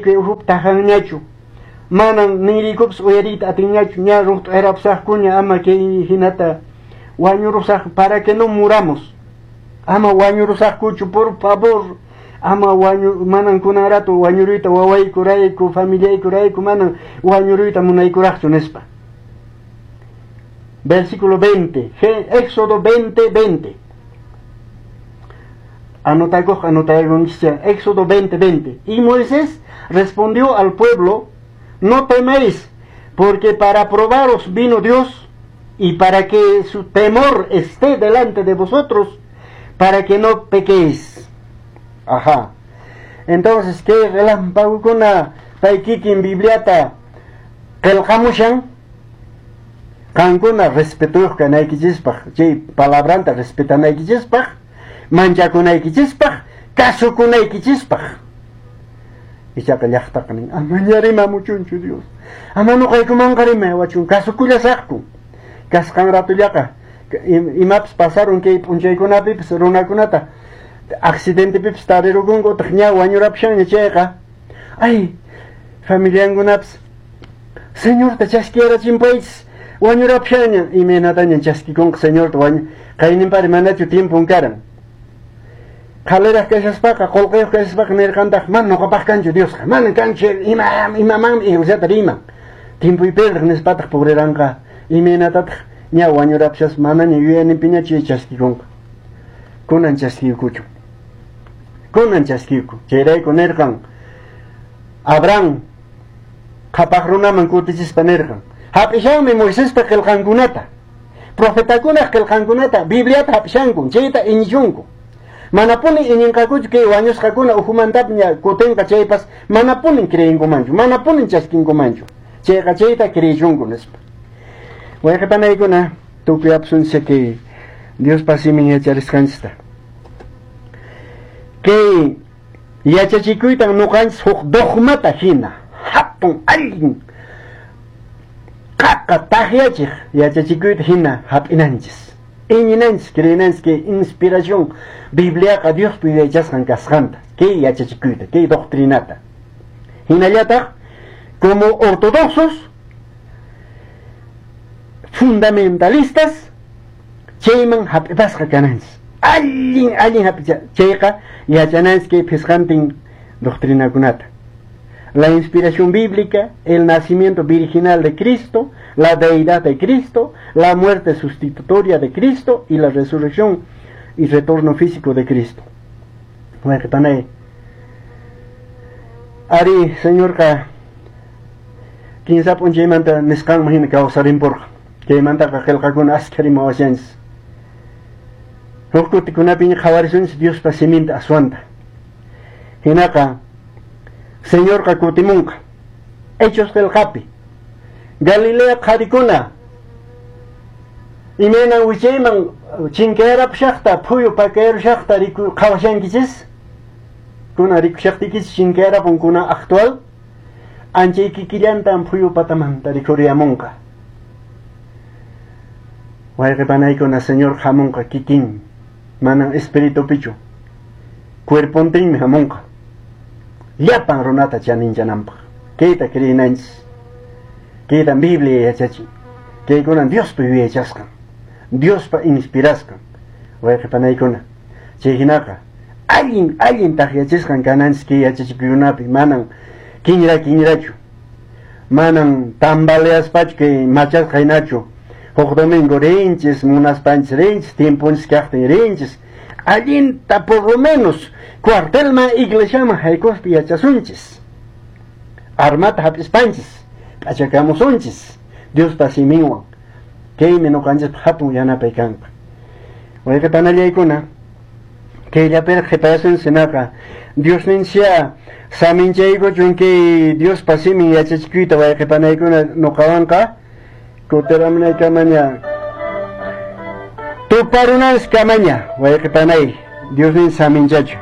kay ukhupi tajanñachu. Manan ninriykupas uyariyta atinñachu, ña ruqt'arapusaqkuña, ama kay hinata wañurusaq, para que no muramos. Ama wañurusaqkuchu, por favor. Ama wañu, manan kunan rato wañuruyta wawaykurayku, familiaykurayku, manan wañuruyta munaykuraqchu nispa. Versículo 20, Éxodo 20, 20. Anotakuq, anotakunchis, Éxodo 20, 20. Y Moisés respondió al pueblo: no teméis, porque para probaros vino Dios, y para que su temor esté delante de vosotros, para que no pequéis. Ajá. Entonces, ¿qué relámpagokuna pay kikin Bibliata qillqamushan? Qankuna respetuyuq kanaykichispaq, chay palabranta respetanaykichispaq, manchakunaykichispaq, kasukunaykichispaq. Ichaqa llaqtaqa nin, amaña rimamuchunchu Dios. Ama nuqaykumanqa rimawachun, kasukullasaqku. Kasqan ratullaqa imapas pasaron kay p'unchaykunapipis runakunata accidentepipis tarirukunku utaq ña wañurapushanña chayqa, ay, familiankunapis Señorta chaskiyarachinpaychis, wañurapushanña, imaynataña chaskikunqa Señorta wañu qayninpari manachu tiempon karan. Qhaliraq kashaspaqa, qullqiyuq kashaspaqa nirqantaq, mana nuqapaq kanchu Diosqa, mana kanchu, imamanmi iglesiata riman. Tiempoy perdiq nispataq puriranqa, imaynatataq ña wañurapushaspaq manaña yuyayninpiña chay chaskikunqa. Kunan chaskiykuchu. Kunan chaskiyku. Chayrayku nirqan Abraham qhapaq runaman kutichispa nirqan, hap'ishanmi Moisespa qillqankunata, profetakunaq qillqankunata, Bibliata hap'ishanku, chayta iñichunku. Manapuni iñinqakuchu kay wañusqakuna ukhumantaña kutinqa chaypas, manapuni creenkumanchu, manapuni chaskinkumanchu. Chayqa chayta creechunku nispa. Wayqipanaykuna, tukuy apusunchis kay Diospa simin yacharisqanchista. Kay yachachikuytan nuqanchis huk dogmata hina, hatun allin qaqa taqyachiq yachachikuyta hina hap'inanchis. Iñinanchis, creenanchis kay inspiración Bibliaqa Diospa yuyaychasqan kasqanta, kay yachachikuyta, kay doctrinata. Hinallataq, como ortodoxos, fundamentalistas, chayman hap'ipasqa kananchis. Allin, allin hap'icha, chayqa yachananchis kay phisqantin doctrinakunata. La inspiración bíblica, el nacimiento virginal de Cristo, la deidad de Cristo, la muerte sustitutoria de Cristo y la resurrección y retorno físico de Cristo. Wayqipanay. Ari, Señorqa, kinsa p'unchaymanta nisqanman hina kawsarinpurqa. Chaymantaqa qillqakuna askha rimawashanchis. Huk kutikunapiña qhawarisunchis Diospa siminta aswanta. Hinaqa, Señorqa kutimunqa. Hechos qillqapi. Galilea qharikuna imaynan wichayman chinkayarapushaqta, phuyu pakayrushaqta riku qhawashankichis? Kuna rikushaqtiykichis chinkayarapun kuna actual, anchay kikillantan phuyu patamanta rikhuriyamunqa. Wayqipanaykuna, Señor hamunqa kikin, manan espiritupichu, cuerpontinmi hamunqa. Llapan runata chaninchananpaq. Kayta creenanchis. Kaytan Biblia yachachin. Kaykunan Diospa yuyaychasqan, Diospa inspirasqan. Wayqipanaykuna, chay hinaqa allin, allin taqyachisqan kananchis kay yachachikuykunapi, manan kinra kinrachu, manan tambaleaspachu kay machasqa hinachu. Huk domingo rinchis, munaspanchis rinchis, tiemponchis kaqtin rinchis. Allinta por lo menos cuartelman iglesiaman haykuspa yachasunchis. Armata hap'ispanchis, p'achakamusunchis Diospa siminwan. Kaymi nuqanchispaq hatun yanapay kanqa. Wayqipanallaykuna, kayllapiraq qhipayasunchis hinaqa Diosninchikya saminchaykuchun kay Diospa simin yachachikuyta wayqipanaykuna nuqawanqa kutiramunaykamaña tuparunanchis kamaña wayqipanay Diosninchik saminchachu.